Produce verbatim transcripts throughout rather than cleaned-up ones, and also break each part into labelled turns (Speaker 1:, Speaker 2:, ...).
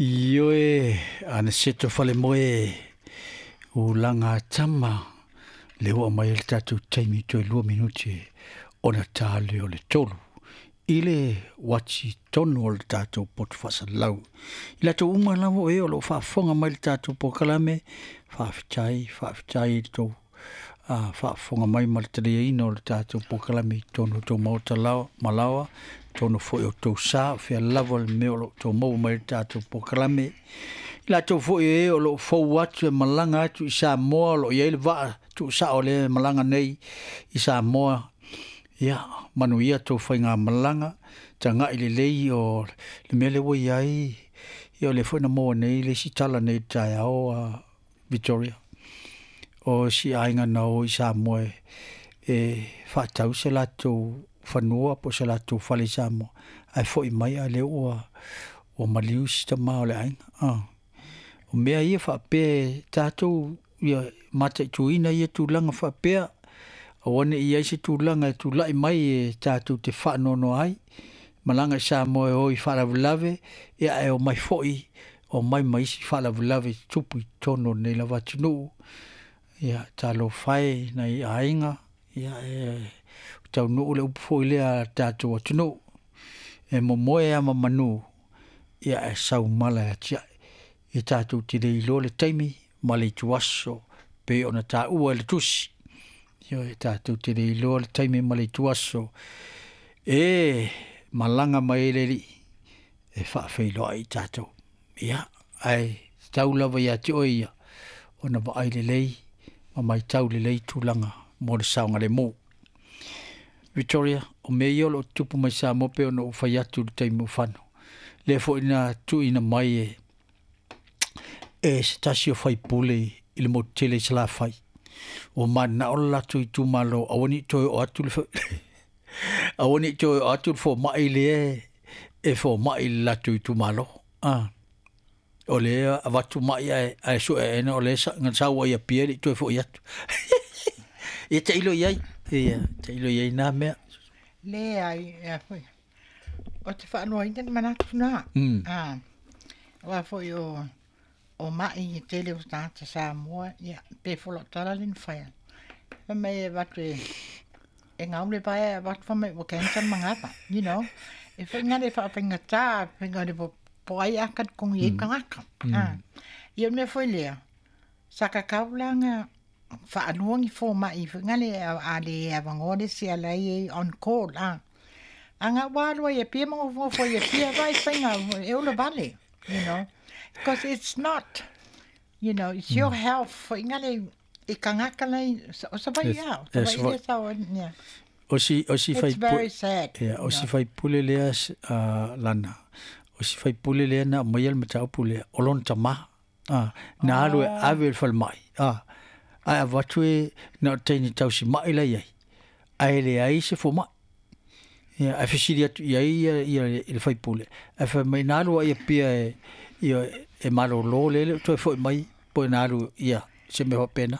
Speaker 1: Ioe Aniceto Falemoe ulaga tama le ua mai le tatou taimi toe lua minute ona ta lea o le tolu i le uati tonu o le tatou poto faasalalau. I latou uma lava o e o lo o faafofoga mai le tatou polokalame, faafetai, faafetai i le tou a faafofoga mai ma le taliaina o le tatou polokalame i totonu o tou maota laoa ma laoa, totonu foi o tou sa o fea lava le mea o lo o outou maua mai le tatou polokalame. I latou foi e o lo o fou atu e malaga atu i Samoa, o lo o i ai le vaa tuusao lea e malaga nei i Samoa, ia manuia tou faigamalaga, tagai lelei o le mea lea ua i ai, ia o lea foi na maua nei le isi tala nei i le taeao a Victoria, o si aiga na o i Samoa e, e faatau se latou fanua po o se latou fale i Samoa, ae foi mai a lea ua ua maliu si tama o le aiga. Ah. O mea ia faapea tatou ia mataituina ia tulaga faapea, aua ne i ai se tulaga e tulai mai e tatou te faanoanoa ai, malaga i Samoa e o i faalavelave, ia ae omai foi, omai ma isi faalavelave e tutupu i totonu o lenei lava atunuu. Ia talofa e nai aiga, ia e taunuu le upu foi lea a le tatou atunuu, e momoe lava ma manu, ia ae sau mala e atiae. E tatou te le iloa le taimi ma le ituaso pei ona taua e le tusi. Ioe, tatou te le iloa le taimi ma le ituaso e malaga mai ai le Alii e faafeiloai i tatou. Ia, ae tatau lava ia te oe ia ona vaai lelei ma matau lelei tulaga mo le saogalemu. Victoria, o mea ia o lo o tutupu mai Samoa pei ona ou fai atu i le taimi ua fano. Lea foi na tuuina mai e e se tasi o faipule i le motu tele i Salafai. Ua mananao le latou itumalo aua ne i toe oo atu le aua ne i toe oo atu le fomai lea e fomai i le latou itumalo. Ah. O lea avatu mai ae, ae sue aena o lea na sau ai Apia e le i toe foi atu. Ia tailo i ai, ia tailo i ai nā mea.
Speaker 2: Leai, ea foi. O te faanoaina le manatu na.
Speaker 1: Mm.
Speaker 2: Ah, aua foi o, o mai e tele o tagata Samoa, ia, pe folau tala le na whaia. Fai mai e avatu e, e ngau le vaea e avatu fai mai ua cancer mangapa, you know. E whainga le whaawhaingata, whainga le po po ai aka kongi e kangaka. Ah. Ia o le mea foi lea, sa kakau la nga whaalua ni fōma'i whainga le a le awangoa le isi ala i on call. Ah. Anga wālua ia pia mangofongofo ia pia vai whainga e ola vale, you know. Because it's not, you know, it's your health whainga le i kangaka nei, o sa vai au, sa vai le sa yeah.
Speaker 1: O si, o si
Speaker 2: It's
Speaker 1: fai
Speaker 2: very sad.
Speaker 1: Yeah, o
Speaker 2: you
Speaker 1: si
Speaker 2: know.
Speaker 1: faipule lea uh, lana. O si faipule lea na aumaia le mataupu lea, o lona tamā. Ah, na alu e ave i le falemai. Ah, ae avatu e na o taini tausima'i la i ai. Ae leai se fomai. Ia, ae fesili atu i ai ia, ia i le faipule. Ae fai mai na alu ai Apia e, ia, e malolo le le o toe foi mai, po e na alu ia, se mea faapena.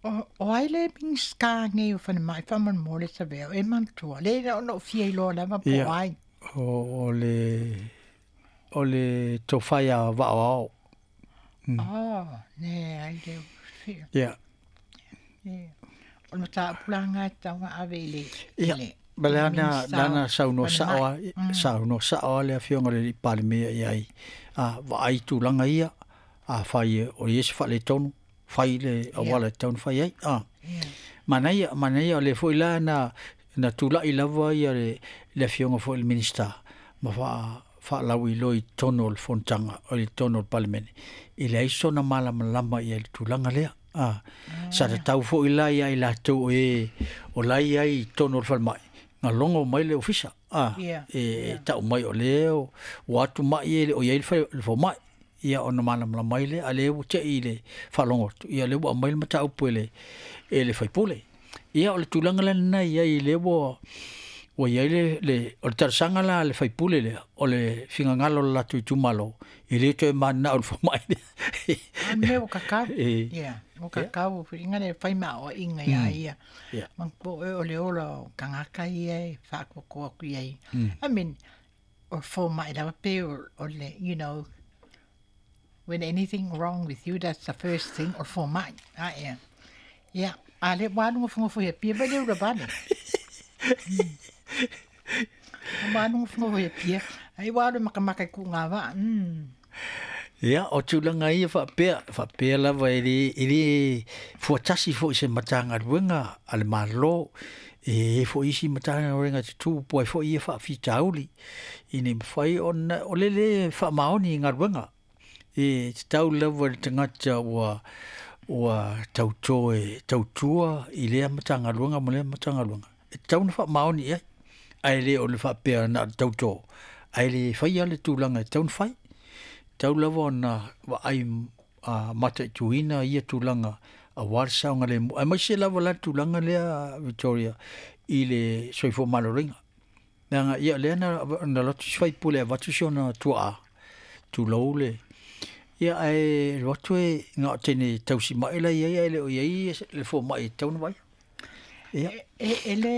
Speaker 2: O, o ai le Minista nei o whanamai whamolemole sa veo e manatua. Le ina ona o fia iloa lava po
Speaker 1: Ia,
Speaker 2: ai.
Speaker 1: o, o le, o le tofa ia Vaaoao. Mm.
Speaker 2: Oh, ne ai le fia.
Speaker 1: Ia.
Speaker 2: Yeah. O le mataupu la ngā taunga ave i le,
Speaker 1: Ia,
Speaker 2: le,
Speaker 1: ma
Speaker 2: le
Speaker 1: le ana,
Speaker 2: Minista
Speaker 1: le ana
Speaker 2: o
Speaker 1: saunoa sao
Speaker 2: Whanamai.
Speaker 1: a,
Speaker 2: Mm.
Speaker 1: saunoa sao a le afioga i le alii Palemia i ai. A, vaai tulaga ia, a fai e o i ai se faaletonu, fai le
Speaker 2: Yeah.
Speaker 1: auala e tatau ona fai ai. A.
Speaker 2: Yeah.
Speaker 1: Manaia, manaia o le foi la na, na tulai lava ia le, le afioga foi i le Minista, ma faa, faalauiloa i totonu o le fonotaga, o le totonu o le Palemene, e leai sona malamalama ia i le tulaga lea. A, sa tatau foi la ia i latou o e o la i ai i totonu o le falemai, na logo mai le ofisa. A,
Speaker 2: Yeah.
Speaker 1: e
Speaker 2: Yeah.
Speaker 1: tau mai o lea o, ua atu mai e le o i ai le fale- le fomai. Ia ona malamalama ai lea, a lea ua te'i i le faalogo atu. Ia lea ua aumai le mataupu e le, e le faipule. Ia o le tulaga la lena i ai lea ua, ua i ai le, le, o le talosaga la a le faipule lea, o le finagalo o le latou itumalo, e le toe mananao i le fomai lea.
Speaker 2: A mea ua kakau.
Speaker 1: E,
Speaker 2: Yeah, ua
Speaker 1: yeah.
Speaker 2: kakau whiringa le whai maa o inga ia
Speaker 1: Mm.
Speaker 2: ia.
Speaker 1: Yeah.
Speaker 2: Mang po e o le ola o kangaka ia e whaakoakoa ku ia.
Speaker 1: Mm.
Speaker 2: I mean, o fomai lava pe o o le, you know, when anything wrong with you, that's the first thing, o fomai. Ah, yeah. Yeah, a le ua alu gofogofoʻi Apia mai le ula vale. Ua alu gofogofoʻi Apia, ai ua alu e makamaka i kuʻu gavaʻa. Mm.
Speaker 1: Ia, o tulaga ia faapea, faapea lava e le, e le fuatasi foʻi se matagaluega a le Mālō, e i ai foʻi isi matagaluega tutū po ai foʻi ia faafitauli, ina ia mafai ona o le lē faamaoni i galuega. E tatau lava i le tagata ua, ua tautō e tautua i lea matagaluega ma lea matagaluega, e tatau ona faamaoni i ai, ae le o le faapea na o le tautō, ae le faia le tulaga e tatau ona fai. Tatau lava ona vaai a mataituina ia tulaga auā le saogalemu, aemaise lava la le tulaga lea Victoria i le soifua maloloina. Leaga ia o lea na na alu atu si faipule e avatu si ona tuaa, tulou le, ia ae alu atu e na o teine tausimaʻi la e i ai ae le o i ai le fomaʻi e tatau ona vaaia. Ia.
Speaker 2: E, e le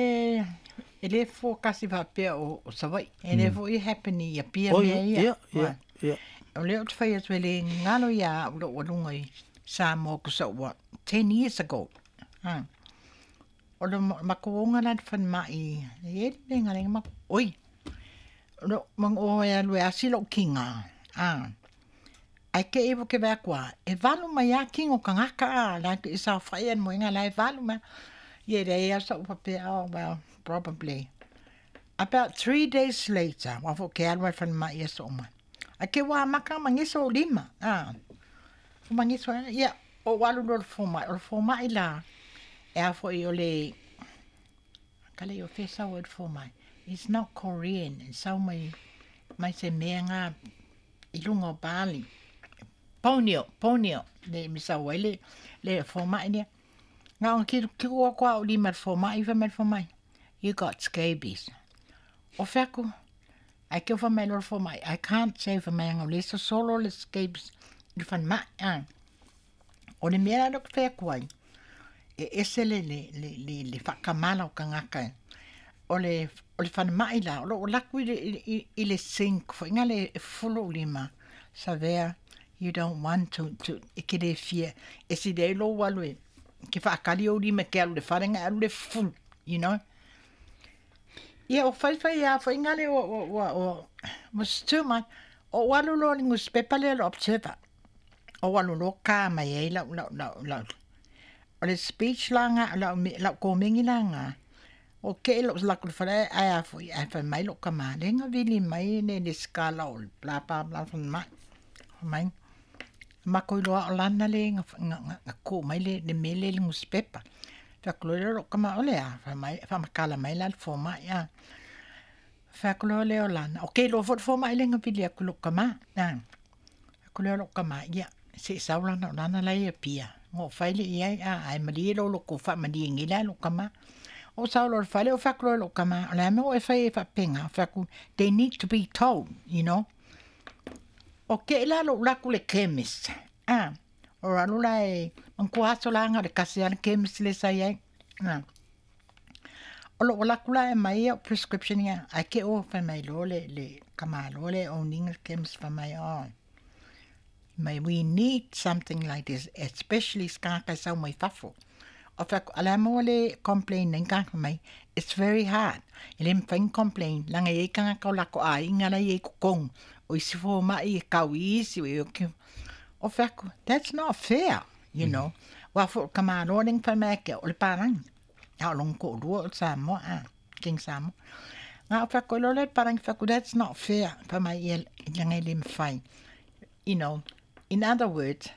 Speaker 2: e le forecast faapea o, o Savaii. E le foi happen i Apia
Speaker 1: Oh
Speaker 2: mea
Speaker 1: ia,
Speaker 2: ia.
Speaker 1: ia, ia, ia.
Speaker 2: O lea ou te fai atu e le galo iā a'u lo'u aluga i Samoa kusa ua ten years ago. Ha. O le makou oga la i le falemai, e i ai le mea e gala ai makou, oi, o lou mago'o e alu e asi lo'u kiga, a, ae te i ua ke vaai atu lava, e valu mai lava kiga o tagata a, la e saofa'i ai le moega la e valu mai. Ia e leai lava sa'u faapea, oh well, probably. About three days later, aua foi ou te alu lava i le falemai i aso uma, ae ke ua amata ona magiso ou lima, a, ua magiso ai, ia, ou alu loa i le fomai, o le fomai la, e a foi o le, kale o fea sau ai le fomai, it's not Korean, e sau mai, mai se mea ga i luga o Bali, Borneo, Borneo, le me sau ai le, le fomai lea. Na ona kilukilu atu lava o lima i le fomai, fai mai le fomai, you got scabies. O fai atu, ae ke fai mai loa le fomai, I can't say fai mai aga o lea e sosolo le scabies i le falemai, a. O le mea la lea ou te fai atu ai, e ese le, le, le, le, le faakamala o tagata. O le, o le falemai la, o loo alu atu i le, i, i le sink foʻiga le e fufulu ou lima, Savea, you don't want to, to, e te lē fia, e sili ai lou alu e, ke faakali ou lima e te alu i le fale na e alu le fufulu, you know. Ia o faifai lava foʻiga le ua, ua, ua, ua, was too much. Ou alu loa i le nusipepa lea o le Observer, ou alu loa ka mai ai lau, lau, lau, lau, o le speech la ga, lau, lau komeni la ga, o keʻe lo'u laku i le fale ae a foʻi ae fai mai lo'u kamā, lea na vili mai le le sikala o le bla bla bla falemai. Fai mai, makou iloa o lana le na na na kuu mai le le mea lea i le nusipepa. Fai atu loa lea o lo'u kamā, o le a? Fai mai, faamatala mai la le fomai a. Fai atu loa lea o lana, o ke iloa foi le fomai lea na vili atu i lo'u kamā, a. Fai atu lea o lo'u kamā, ia, seʻi sau lana o lana la e i Apia, na ou fai lea i ai a, ae malie lou loto faamalie nei la i lo'u kamā. Ou sau loa i le fale ou fai atu loa i lo'u kamā, o le a mea ua e fai ai faapena? Fai atu, they need to be told, you know. O keʻe la lo'u alu atu i le chemist, a, o alu la e, manatua aso la na o le tasi lava le chemist lea sa i ai, a. O lo'u alu atu la e aumai au prescription ia, ae te i ua fai mai loa le, le tamāloa lea e own ina le chemist fai mai, oh, mai we need something like this, especially se tagata e sau mai fafo. O fai atu, a o le a mea ua le complain ai ni tagata mai, it's very hard. E le mafai ona complain, leaga e i ai tagata o latou aiga la e i ai i totonu, o isi fomai e tau i isi, o fai atu, that's not fair, you know. Aua foi o le tamāloa lea na fai mai ia te au, o le palagi, a o lona toalua o le Samoa, a, King Samoa. Na ou fai atu ai loa lea i le palagi, fai atu, that's not fair, fai mai ia, leaga e le mafai. You know, in other words,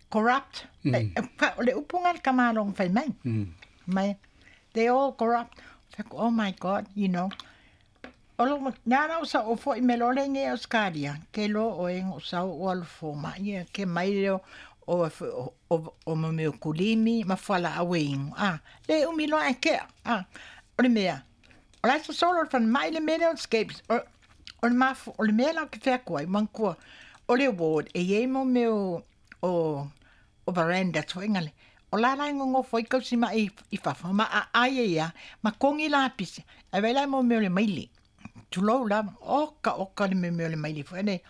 Speaker 2: corrupt. Mm. O le upu lena a le tamāloa na fai mai. Mm. Mai, they all corrupt. Fai atu, oh my God, you know. O lo, nā na o sa o foi me loa le nge Australia, ke loa oe na ou sau ou alu fomai ia, ke mai lea o, o, o, o mo mea o kulimi ma fualaau e inu, a, le umi loa ae kea, a, o le mea, o la e sosolo le falemai le mea lea o le scabies, o, o le mafu, o le mea la ou te fai atu ai, manatua, o le ward, e i ai mo mea o, o, o veranda foʻiga le, o la la e nonofo ai tausimaʻi i fafo ma aai ai lava ma togi lapisi, ae vaai la i mo mea o le maile. Tulou lava oka oka le mea o le maile foi le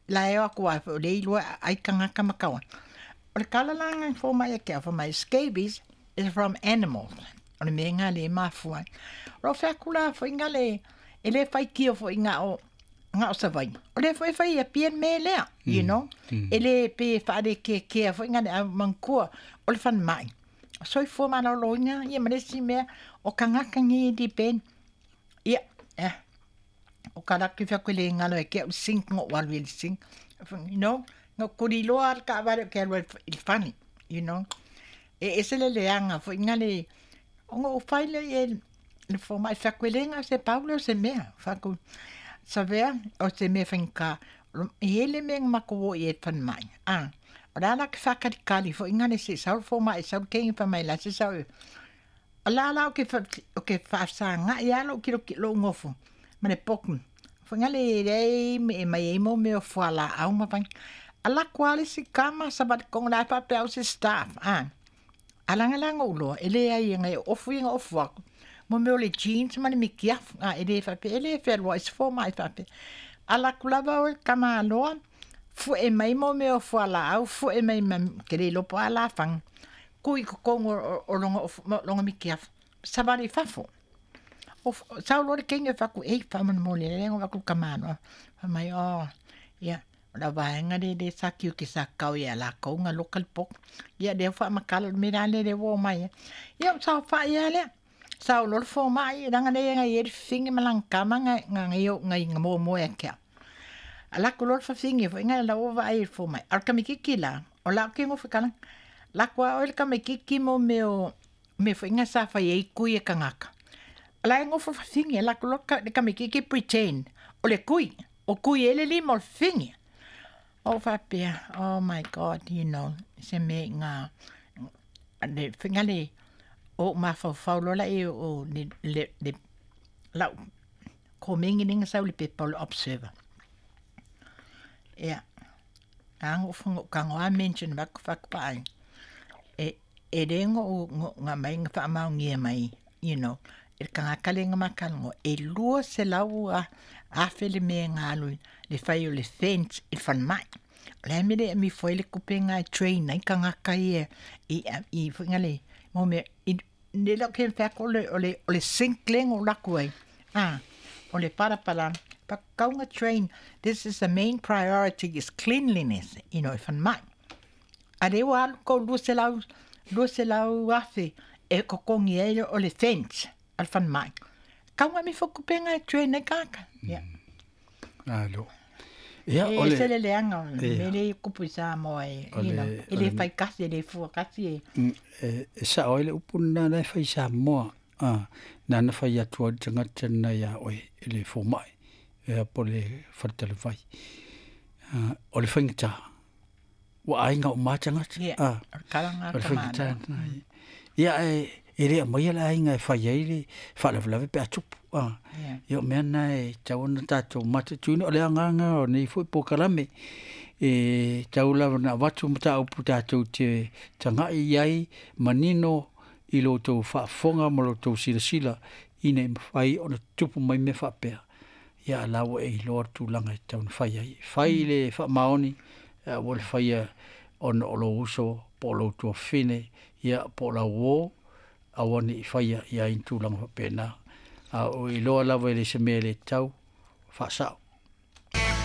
Speaker 2: la e o aku ai foi o le iloa ai tagata ma kaua. O le kalalāga i fōmaʻi ake au fai mai scabies is from animals. O le mea gā le mafua ai. O loo feaku la foʻiga le e lē faitio foʻiga o ga o Savaii. O lea foi e fai ia pia le mea lea, you know. E lē pe faalekekea foʻiga le au manatua o le falemai. O soifua malōlōina ia ma le isi mea o tagata nei depend. Ia, eh, o ka laki feaku e lē galo e ke au sink goʻu alu i le sink. You know, na kuli loa le taavale o ke alu ai i le fale, you know. E ese le leaga foʻiga le ona ou fai lea i le fomaʻi feaku e lē gao se pau lea o se mea faku savea o se mea faigata e i ai le mea na matou o i ai falemai a o le a la ke faakalikali foʻiga le seʻi sau le fomaʻi sau le keigi fai mai la se sau o la la o ke o ke faafesagaʻi a lou kilokilo lou gofo ma le poku foʻiga le leai e mai ai mo mea o fualaau ma fai alaku a le isi kama savali kogo la e faapea au se staff a alagalaga ou loa e leai e gai ofu ia ga ofu aku mo mea o le jeans ma le mikiafu a e lē faapea e lē fealuaʻi se fomaʻi faapea alaku lava oe kamāloa fuʻe mai mo mea o fualaau fuʻe mai ma ke le iloa po o a lafaga kui totonu o lona ofu lona mikiafu savali i fafo o sau loa le keigi e faaku ei faamolemole lea na avatu i le kamāloa fai mai o ia o le vaega lea lea sa tiute sa tatao ia latou na loka le poto ia lea ua faamatala o le mea la lea lea ua omai ai ia ou saofaʻi a lea sao loa le fomaʻi leaga lea na iai le fafine ma lana tama na na na momoe ake au alaku loa le fafine foʻiga la ua vaai i le fomaʻi a o le kamititi la o la oke gofo kala laku a oe le kamititi mo mea o mea foʻiga sa fai ai kui e tagata la e gofo fafine laku loa le kamititi pretend o le kui o kui ai le lima o le fafine ou faapea oh my god you know se mea iga le foʻiga le o ou mafaufau loa laia o le le le lau komeni lea na sau i le pepa o le observer. Ia aga ou ou tago lava mention avatu faaku vaai e e lē noʻu na aumai na faamaonia mai you know e le tagata lea na ma talanoa e lua selau afe le mea na alu le fai o le fence i le falemai. O le a le mea e le amifo ai le tupe lena e train ai tagata ia i i foʻiga le mo mea i le leo ke mafai o le o le o le sink lea na ou alu atu ai a o le palapala pakauga train this is the main priority is cleanliness you know e falemai. A lea ua alu kou lua selau lua selau afe e totogi ai o le fence a le falemai. Kauga amifo tupe lena e train ai tagata ia.
Speaker 1: Alo. Ia
Speaker 2: E
Speaker 1: o le
Speaker 2: ese le leaga o le
Speaker 1: ia
Speaker 2: mea lea e tupu i Samoa e
Speaker 1: o
Speaker 2: you know
Speaker 1: le
Speaker 2: e
Speaker 1: o
Speaker 2: lē
Speaker 1: le
Speaker 2: faitasi e lē fua kasi e
Speaker 1: e e sao ai le upu lena la e fai Samoa a na na fai atu ai le tagata lena iā oe e le fomaʻi ia po o le faletalavai. A o le faigata ua aiga uma lava tagata
Speaker 2: ia
Speaker 1: a
Speaker 2: o le tala lena
Speaker 1: o le
Speaker 2: a
Speaker 1: faigata
Speaker 2: tamāloa.
Speaker 1: lena ia e e le aumaia le aiga e fai ai le faalavelave pe a tupu a
Speaker 2: Ia
Speaker 1: ia o mea lena e tatau ona tatou mataituina o le agaga o nei foi polokalame e tau lava ona avatu mataupu tatou te tagaʻi i ai manino i lo outou faafofoga ma lo outou silasila ina ia mafai ona tutupu mai mea faapea ia a la ua e iloa le tulaga e tatau ona fai ai. Fai le faamaoni aua le faia ona o lou uso po o lou tuafafine ia po o lau uō aua neʻi faia i ai ni tulaga faapena a o iloa lava e le se mea e le tatau faasao.